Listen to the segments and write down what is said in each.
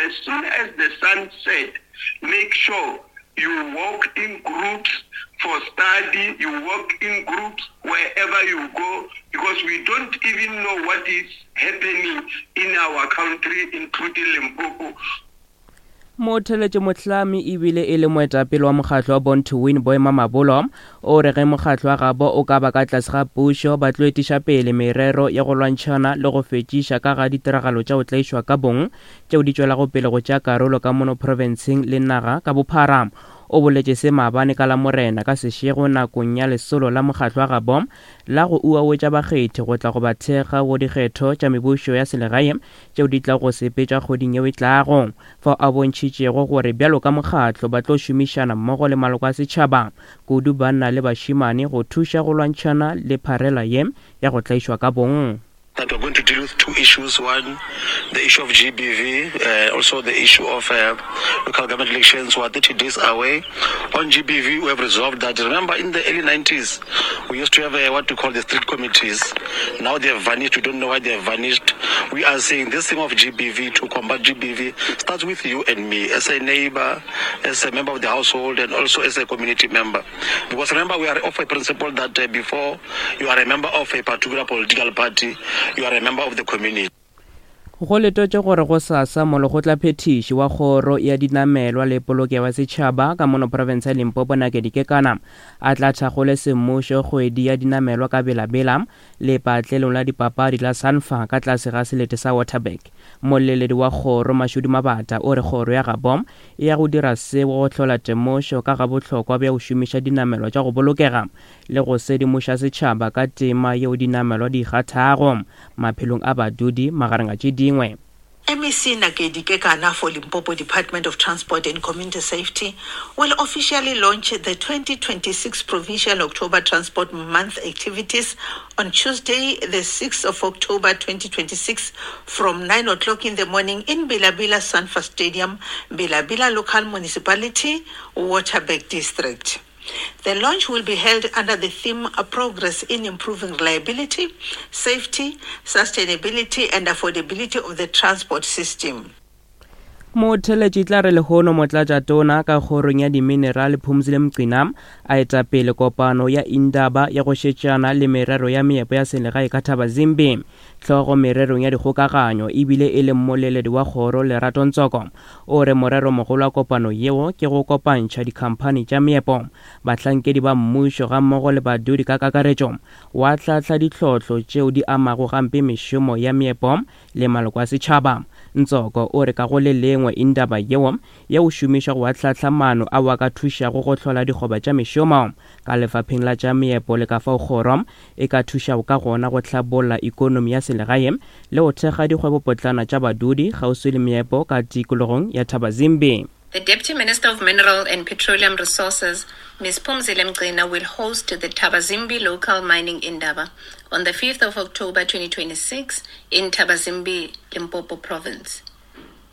As soon as the sun set, make sure you walk in groups for study, you walk in groups wherever you go, because we don't even know what is happening in our country, including Limpopo. Motheletše mohlami ebile e le moetapele wa mokgatlo wa Born to Win Boy Mamabolo o re ge mokgatlo wa gabo o ka ba ka tlase ga pušo ba tlo etiša pele merero ya go lwantšhana le go fetšiša ka ga ditiragalo tša go tlaišwa ka bong tšeo di tšwelago pele go tšea karolo ka mono profenseng le naga ka bophara. O boletše se maabane ka Lamorena ka sešego nakong ya lesolo la mokgatlo wa gabo la go uawetša bakgethi go tla go ba thekga go dikgetho tša mebušo ya selegae tšeo di tlago go sepetšwa kgweding yeo e tlago, fao a bontšhitšego gore bjalo ka mokgatlo ba tlo šomišana mmogo le maloko a setšhaba, kudu banna le bašemane go thuša go lwantšhana le pharela ye ya go tlaišwa ka bong. That we're going to deal with two issues, one, the issue of GBV, uh, also the issue of uh, local government elections. We are 30 days away. On GBV, we have resolved that. Remember, in the early 90s, we used to have uh, what we call the street committees. Now they have vanished. We don't know why they have vanished. We are saying this thing of GBV, to combat GBV, starts with you and me as a neighbor, as a member of the household, and also as a community member. Because remember, we are of a principle that uh, before you are a member of a particular political party, you are a member of the community. Go letotše gore gosasa Molekgotlaphethiši wa Kgoro ya Dinamelwa le Polokego ya Setšhaba ka mono profense ya Limpopo Nakedi Kekana a tla thakgole semmušo kgwedi ya dinamelwa ka Bela-Bela lepatlelong la dipapadi la Sanfa ka tlase ga selete sa Waterberg. Molleledi wa kgoro Mashudu Mabata o re kgoro ya gabo e ya go dira seo go hlola temošo ka ga bohlokwa bja go šomiša dinamelwa tša go bolokega le go sedimoša setšhaba ka tema yeo dinamelwa di e kgathago maphelong a badudi magareng a tše dingwe. MEC Nakedi Kekana for Limpopo Department of Transport and Community Safety will officially launch the 2026 Provincial October Transport Month activities on Tuesday, the 6th of October 2026 from 9 o'clock in the morning in Bilabila Sanfa Stadium, Bilabila Local Municipality, Waterberg District. The launch will be held under the theme Progress in Improving Reliability, Safety, Sustainability and Affordability of the Transport System. Motheletši tla re lehono Motlatšatona ka kgorong ya Diminerale Phumzile Mgcina a eta pele kopano ya Indaba ya go šetšana le merero ya meepo ya selegae ka Thabazimbi. Hlogo mererong ya dikgokaganyo e bile e le mmoleledi wa kgoro Lerato Ntsoko o re moreromogolo wa kopano yeo ke go kopantšha dikhamphani tša meepo, bahlankedi ba mmušo gammogo le badudi ka kakaretšo wa hlahla ditlhohlo tšeo di amago gampe mešomo ya meepo le maloko a setšhaba. Ntsoko o re ka go le lengwe indaba yeo ya go šomišwa go ahlahla maano ao a ka thušago go hlola dikgoba tša mešomo ka lefapheng la tša meepo le ka fao kgoro e ka thušago ka gona go hlabolla ikonomi ya selegae le go thekga dikgwebopotlana tša badudi kgauswi le meepo ka tikologong ya Thabazimbi. The Deputy Minister of Mineral and Petroleum Resources, Ms Phumzile Mgcina, will host the Thabazimbi Local Mining Indaba on the 5th of October 2026 in Thabazimbi, Limpopo Province.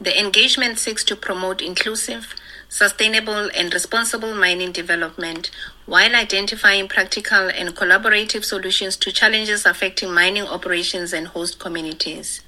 The engagement seeks to promote inclusive, sustainable and responsible mining development while identifying practical and collaborative solutions to challenges affecting mining operations and host communities.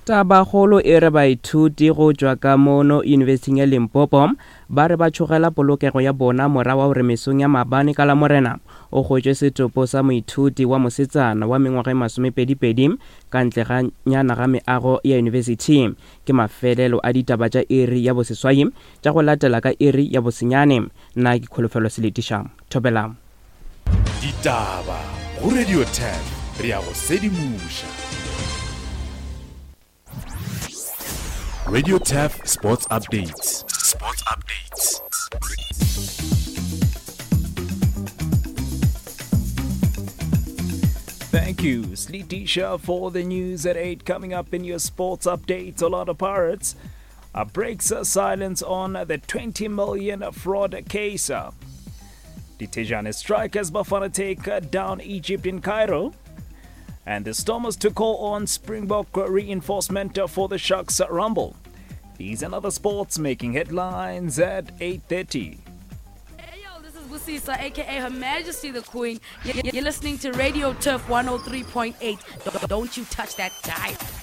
Tabakgolo e re baithuti go tšwa ka mono Yunibesithing ya Limpopo ba re ba tšhogela polokego ya bona morago ga gore mesong ya maabane ka Lamorena o hwetšwe setopo sa moithuti wa mosetsana wa mengwaga e masomepedipedi ka ntle ga nyana ga meago ya yunibesithi. Ke mafelelo a ditaba tša iri ya boseswai tša go latela ka iri ya bosenyane. Nna ke Kholofelo Seletiša. Thobela. Ditaba go Radio 10 re a go sedimoša. Radio Turf Sports Updates. Sports Updates. Thank you, Sleetisha, for the news at 8. Coming up in your sports updates, Orlando Pirates uh, breaks silence on the 20 million fraud case. The Tejane strikers Bafana take down Egypt in Cairo. And the Stormers to call on Springbok reinforcement for the Sharks Rumble. These and other sports making headlines at 8.30. Hey yo, this is Busisa, aka Her Majesty the Queen. You're listening to Radio Turf 103.8. Don't you touch that dial.